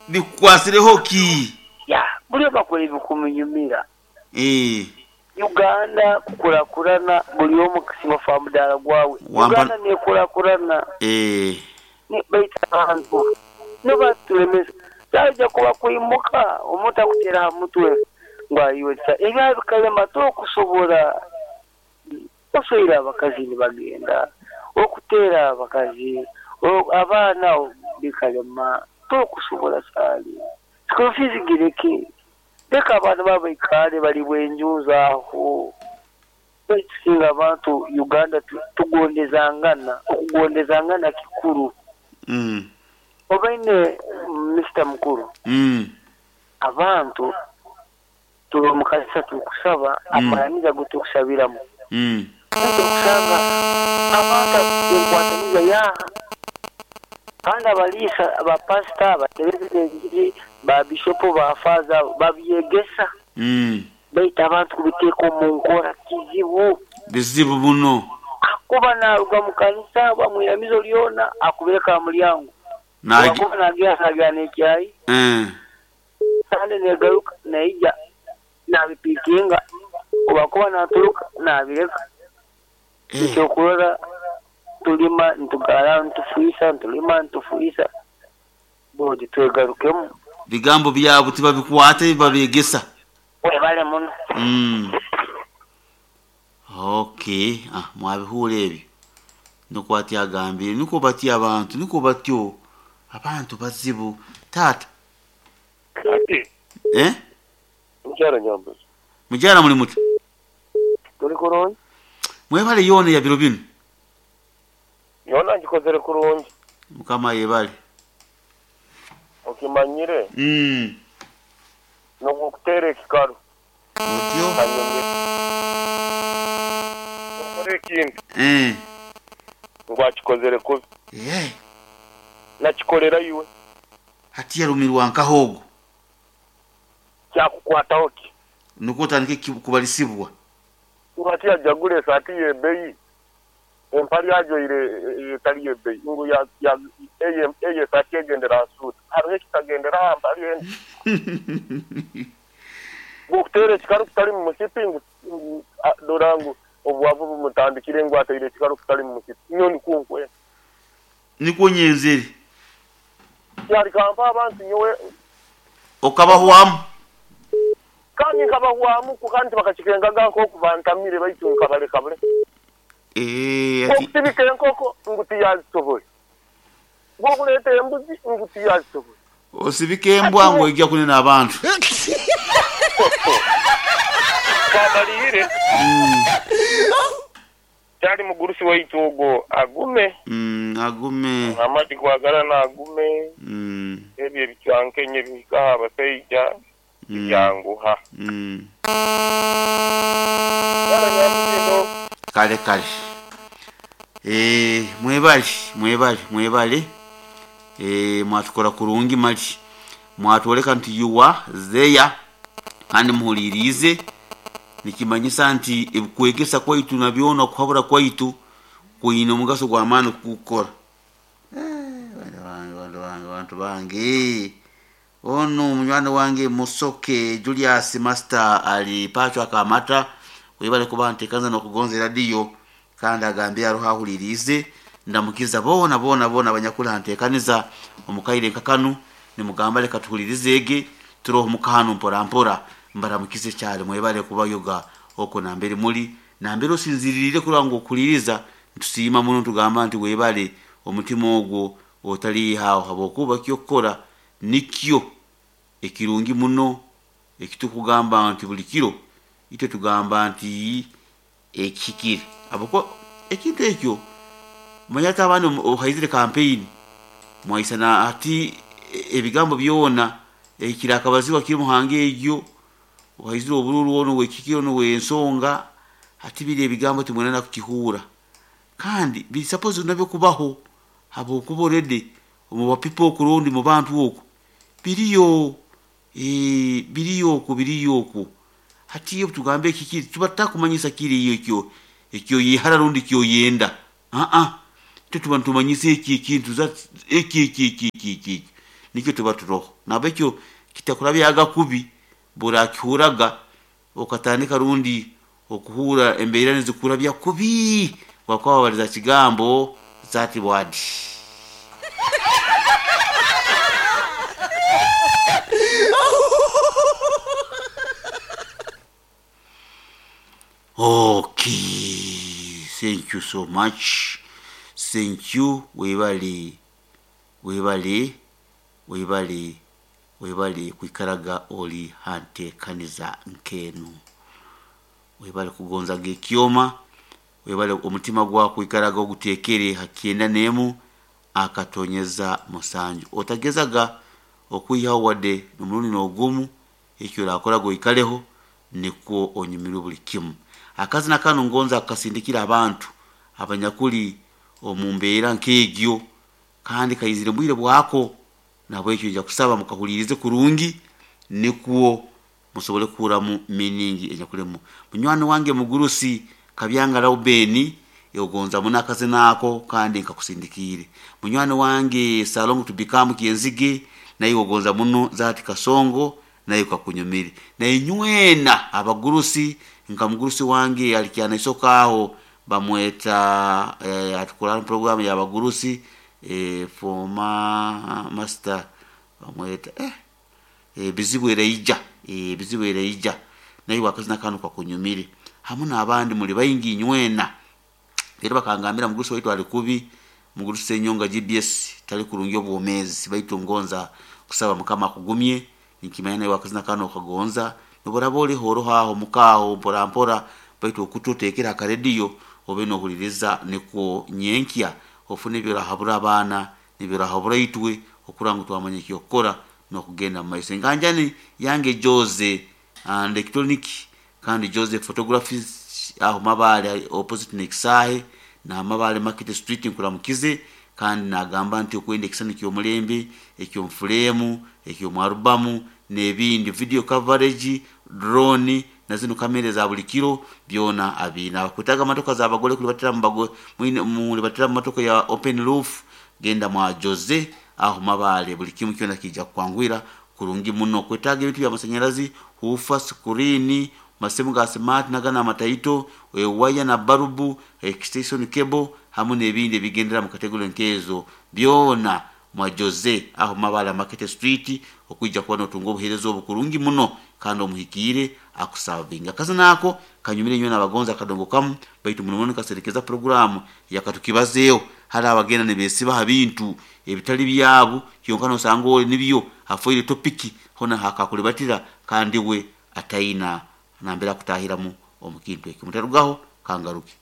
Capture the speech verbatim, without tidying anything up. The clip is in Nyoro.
Bikukwasireho ki? Ya, buli bakora ebikumunyumira. Eh. Uganda kukurakurana buli omu kusinga fa mudaala gwawe. Wampa- Uganda nekurakurana Eh. ni baita abantu nibatulemesa kyaija kuba kwimuka omuntu akutera aha mutwe ngu ayiwesa ebya bikalema tokusobola osoire abakazi nibagenda okutera abakazi o- abaana bikalema tokusobola kyali school fees gireke leka abaana babaikale bali bwenjuza aho tusinga abantu Uganda tu- tugondezangana okugondezangana kikuru Mm. obaine Mister Mukuru Mm. abantu tuli omukanisa tukusaba Mm. amaramiza ago tukusabiramu Mm. tukusanga abantu enkwataniza yaha kandi abaliisa abapasita abatebezi b'enjiri ba bishopu ba faaza babyegesa Mm. baitu abantu kubiteeka omu nkora kizibu Bizibu buno. akuba naruga mu kanisa bamwiramizo lyona akubireka aha mulyango Nagi. akuba nagira nagira n'ekyayi Eh. sande negaruka naija nabipikinga obakuba naturuka nabireka Eh. ekyokurora tulima ntugara ntufuisa ntulima ntufuisa bodi twegarukemu Bigambo byabo tibabikwata babegesa. webale muno Mm. Okay, ah mwabihura ebyo. Nukwo ati agambire, nukwo batya abantu, nukwo batyo abantu bazibu. Tata, Ati, eh? mukyala Nyambuzi. Mujara muli muti. Tuli kurungi? Mwebale yona ya biro bino. Yona ngikozere kurungi. Mukama yebale. Okimanyire Mm. n'okutera ekikalu Otyo. kanyumye. Okora ekintu Eh. ngu akikozere kubi. Eh. Nakikolera iwe. Hati yarumirwa nkahogo. Kyakukwataho ki? Nukwo otandike ki- kubalisibwa. Ngu ati yajagula esaati y'ebbeeyi. Empali ajoire etali y'ebbeeyi. Ngu ya- ya- eye eye esaati egendera ha suuti. Hariho ekitagendera ha mpali endi. Ngu okuteera ekikalu kitali mu musipi ngu ngu, a- dora ngu obwavu bumutandikire ngu ateire ekikalu kitali mu musipi. Nyo nikwo nkwenda. Nikwo nyenzere. Kyali kampa abantu nyowe Okabahwamu. kandi nkabahwamu ku kandi bakakikengaga nk'oku bantamire baitu nkabaleka bule. Eh, ati Okutibika enkoko ngu tiyazisobole. Ng'okuleeta embuzi ngu tiyazisobole. osibika embwa ngo ijja kunena abantu. Twamalire kyali mugurusi waitu ogwo agume Mm, agume. amati kwagalana agume Mm. ebyo ebicwankenye bihikaho abasaija Mm. byanguha. Mm. Kyala Nyambuzi Kale kale. Eh, mwebale, mwebale, mwebale. Eh, mwatukora kurungi mali. Mwatwoleka nti yuwa zeya kandi muhulirize nikimanyisa nti ebikwegesa kwaitu nabyona okuhabura kwaitu kwine omugaso gw'amaani kukukora. Eh, bantu bange, bantu bange, bantu bange. Ono munywani wange Musoke Julius Master ali pacho akamata webale kuba ntekanza n'okugonza eradiyo kandi agambye aroho ahulirize ndamukiza bona bona bona abanyakuli ntekaniza omukaire nkakanu nimugamba leka tuhulirize ege turoho mukahano mpora mpora mbaramukize cyane mwebale kubayoga oko nambere muri nambere osinziririre kuranga ngu okuliriza ntusiima muno tugamba nti webale omutima ogwo otaliihaho habwokuba kyokukora nikyo ekirungi muno ekitukugamba nti buli kiro itwe tugamba nti ekihikire habwokuba ekintu ekyo manya ati abaana ohaizire campaign mwaisana ati e- ebigambo byona ekirakabaziwa kiri muhanga egyo ohaizire obururu ono wekikiro ono wensonga ati biri ebigambo timwenana kukihura kandi biri suppose nabyo kubaho habwokuba already omu bapipo okurundi mu bantu okwo biriyo eh, biriyo okwo biriyo okwo hati iyo tugambe ekikiri tuba tutakumanyisa kiri iyo ekyo ekyo yihara rundi kyoyenda aa twe tuba nitumanyisa eki ekintu za eki eki eki eki eki eki Nikyo tuba turoho nabekyo kitakurabyaga kubi burakihuraga okatandika rundi okuhura embeera nizikurabya kubi wakuba wabaliza kigambo zati wadi. Okay, thank you so much. Thank you. Webale, webale, webale, webale kwikaraga oli hantekaniza nkenu. Webale kugonzaga ekyoma, webale omutima gwako kwikaraga ogutekere hakyenda nemu akatonyeza musanju. Otagezaga okwihaho wadde n'omurundi n'ogumu, ekyo orakoraga oikaleho nikwo onyumirwe buli kimu. Akazina kanu ngonza kukasindikira abantu abanyakuli omu mbeera nk'egyo, kandi kaizire bwire bwako, nabwekyo nja kusaba mukahulirize kurungi nikwo musobole kuhuramu meaning enyakulemu. Munywani wange mugurusi Kabyanga Raubeni ogonza muno akazina ako kandi nkakusindikiire. Munywani wange Salongo Tubikamu Kyenzige naye ogonza muno Zati Kasongo naye kakunyumire. Na inywena abagurusi nka mugurusi wange alikyana isoka aho bamweta eh, atukora program ya bagurusi eh, former master bamweta eh, eh, bizibu ereija eh, bizibu ereija naye wakazina kanu kakunyumire hamu n'abandi muli baingi inywena. Rero bakangambira mugurusi waitu ali kubi, mugurusi Senyonga G B S tali kurungi obwomezi, baitu ngonza kusaba Mukama akugumye nikimanya nawe wakazina kano kagonza noboraba oli horo aho mukaho mpora mpora, baitu okututekera akaredio obe nohuliriza nikwo nyenkya ofune ebyorahabura abaana nibyorahabura itwe okuranga twamanya ekyokukora nokugenda mu maiso. Enganjani yange Jose and electronic kandi Jose photographies aho Mabale opposite Nekisahe na Mabale Market Street nkuramukize, kandi nagamba nti okwenda ekisani ky'omulembe eky'omufulemu eky'omwarubamu n'ebindi video coverage drone na zino kamera za buli kiro byona abina. Abakwetaga matoka za bagole kulibatira mu bago mwine mulibatira mu matoka ya open roof genda mwa Jose aho Mabale buli kimu kyona kijja kukwangwira kurungi muno. Kwetaga ebintu bya masanyalazi hufa screen masemu ga smart nagana mataito e waya na barubu extension cable hamu n'ebindi ebigendera mu kategori nkezo byona mwa Jose aho Mabale Market Street okwijja kuba notunga obuheereza obukurungi muno kandi omuhikiire akusavinga. Akazina ako kanyumire nywe n'abagonza akadongo kamu, baitu muno muno kaserekeza programu yakatukibazeeho hari abagenda nibesiba ha bintu ebitali byabo kyonka nosanga oli nibyo afoire topiki hona hakakulibatira kandi we ataina nambera kutahiramu omukintu ekyo. Mutarugaho kangaruke.